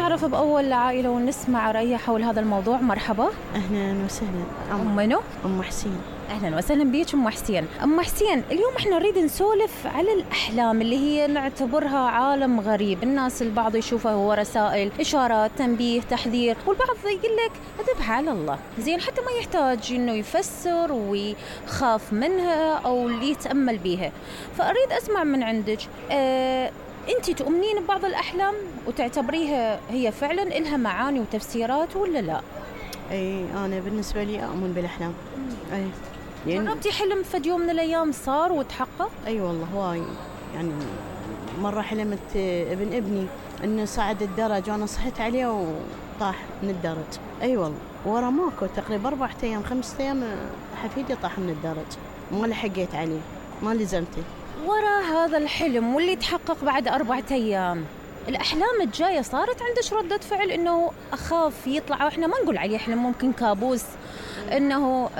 نتعرف بأول عائلة ونسمع رأيها حول هذا الموضوع. مرحبا. أهلا وسهلا. منو؟ أم حسين. أهلا وسهلا بيك أم حسين. أم حسين، اليوم إحنا نريد نسولف على الأحلام اللي هي نعتبرها عالم غريب. الناس البعض يشوفها هو رسائل، إشارات، تنبيه، تحذير، والبعض يقول لك ذبح على الله، زين، حتى ما يحتاج إنه يفسر ويخاف منها أو يتأمل بيها. فأريد أسمع من عندك، أنتي تؤمنين ببعض الأحلام وتعتبريها هي فعلا إلها معاني وتفسيرات ولا لا؟ أي أنا بالنسبة لي أؤمن بالأحلام. أي جربتي حلم فد يوم من الأيام صار وتحقق؟ أي والله هواي. يعني مرة حلمت ابن ابني إنه صعد الدرج وأنا صحيت عليه وطاح من الدرج. أي والله، ورا ماكو تقريبا 4 أيام 5 أيام حفيدي طاح من الدرج، ما لحقيت عليه، ما لزمته. ورا هذا الحلم واللي تحقق بعد 4 أيام، الأحلام الجاية صارت عندك ردة فعل إنه أخاف يطلع، وإحنا ما نقول عليه حلم، ممكن كابوس، إنه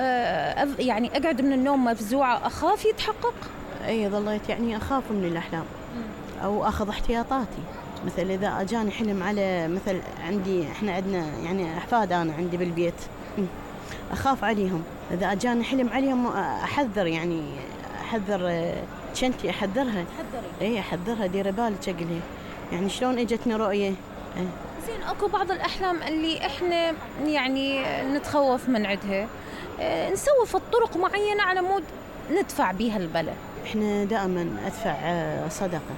يعني أقعد من النوم مفزوعة أخاف يتحقق؟ أي ظليت يعني أخاف من الأحلام أو أخذ احتياطاتي. مثل إذا أجاني حلم على مثل إحنا عندنا يعني أحفاد، أنا عندي بالبيت أخاف عليهم. إذا أجاني حلم عليهم أحذر، يعني أحذر شنتي، أحذرها. إيه أحذرها، دير بالك أقولها يعني شلون إجتني رؤية. زين، أكو بعض الأحلام اللي إحنا يعني نتخوف من عندها، نسوي في طرق معينة على مود ندفع بيها البلاء. إحنا دائما أدفع صدقة،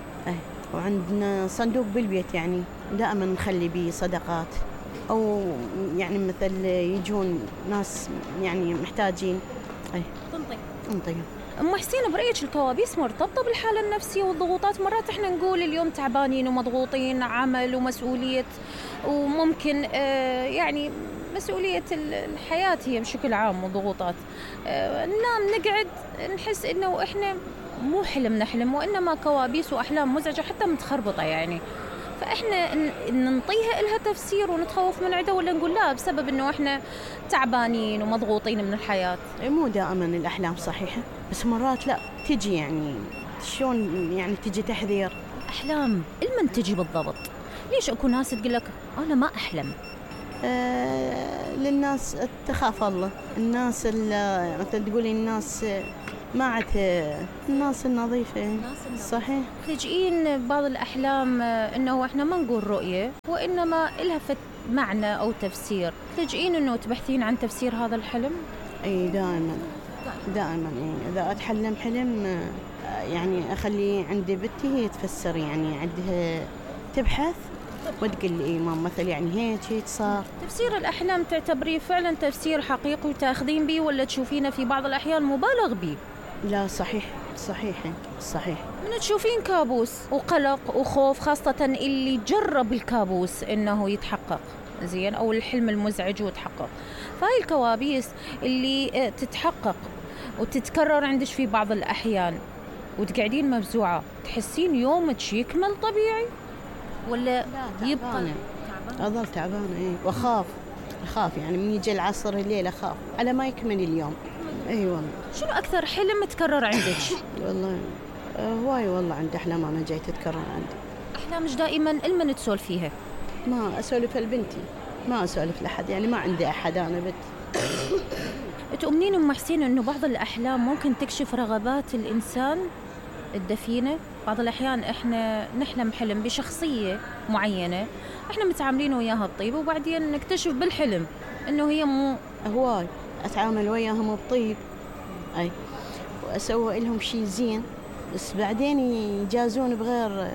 وعندنا صندوق بالبيت يعني دائما نخلي بيه صدقات، أو يعني مثل يجون ناس يعني محتاجين تنطيهم. أم حسين، برأيك الكوابيس مرتبطة بالحالة النفسية والضغوطات؟ مرات إحنا نقول اليوم تعبانين ومضغوطين، عمل ومسؤولية، وممكن يعني مسؤولية الحياة هي بشكل عام وضغوطات، ننام نقعد نحس إنه إحنا مو حلم نحلم، وإنما كوابيس وأحلام مزعجة حتى متخربطة يعني. فإحنا ننطيها إلها تفسير ونتخوف من عدة، ولا نقول لا بسبب إنه إحنا تعبانين ومضغوطين من الحياة؟ مو دائما الأحلام صحيحة، بس مرات لا تجي، يعني شلون يعني تجي تحذير. أحلام لمن تجي بالضبط؟ ليش أكو ناس تقول لك أنا ما أحلم؟ للناس تخاف الله، الناس مثل تقولي الناس ما عاد الناس النظيفة. صحيح. تلجئين بعض الأحلام إنه إحنا ما نقول رؤية، وإنما إلها معنى أو تفسير، تلجئين إنه تبحثين عن تفسير هذا الحلم؟ أي دائما يعني إذا أتحلم حلم يعني أخلي عندي بنتي هي تفسر، يعني عندها تبحث وتقول لي ماما مثل يعني هيك صار. تفسير الأحلام تعتبريه فعلا تفسير حقيقي وتاخذين به، ولا تشوفينه في بعض الأحيان مبالغ به؟ لا صحيح. من تشوفين كابوس وقلق وخوف، خاصة اللي جرب الكابوس إنه يتحقق، زين، أو الحلم المزعج وتحقق، فهاي الكوابيس اللي تتحقق وتتكرر عندك في بعض الأحيان وتقعدين مفزوعة، تحسين يومك يكمل طبيعي ولا يبقى أظل تعبانة؟ وأخاف يعني من يجي العصر الليل أخاف على ما يكمل اليوم. أي والله. شنو أكثر حلم تكرر عندك؟ والله هواي والله عندي أحلام أنا جاي تتكرر عندي. أحلامك دائما المن تسولف فيها؟ ما أسولف لبنتي، ما أسولف لأحد، يعني ما عندي أحد، أنا بنت. تؤمنين أم حسين إنه بعض الأحلام ممكن تكشف رغبات الإنسان الدفينة؟ بعض الأحيان إحنا نحلم حلم بشخصية معينة إحنا متعاملين وياها بطيب، وبعدين نكتشف بالحلم إنه هي مو هواي. أتعامل وياهم بطيب، أي، وأسوي لهم شيء زين، بس بعدين يجازون بغير.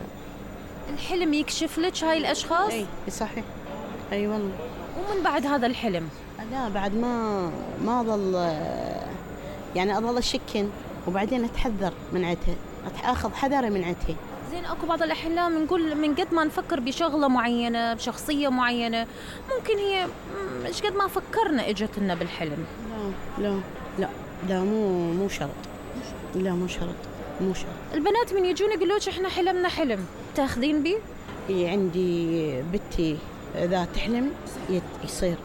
الحلم يكشف لك هاي الأشخاص؟ أي صحيح. أي والله. ومن بعد هذا الحلم لا بعد ما أظل يعني أظل أشكن، وبعدين أتحذر من عتها، أخذ حذري من عتها. زين، أكو بعض الأحلام نقول من قد ما نفكر بشغلة معينة بشخصية معينة، ممكن هي مش قد ما فكرنا إجت لنا بالحلم. لا مو شرط. لا مو شرط. البنات من يجون يقولوش إحنا حلمنا حلم، تاخذين بيه؟ عندي بنتي إذا تحلم يصير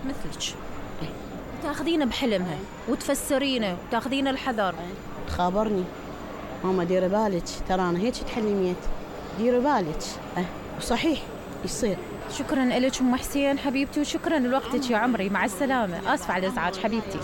مثلك، تاخذينه بحلمها وتفسرينه وتاخذين الحذر. تخابرني ماما ديري بالك، ترى أنا هيك تحلميت، ديري بالك. وصحيح يصير. شكرا لك أم حسين حبيبتي، وشكرا لوقتك يا عمري، مع السلامة. آسفة على الإزعاج حبيبتي.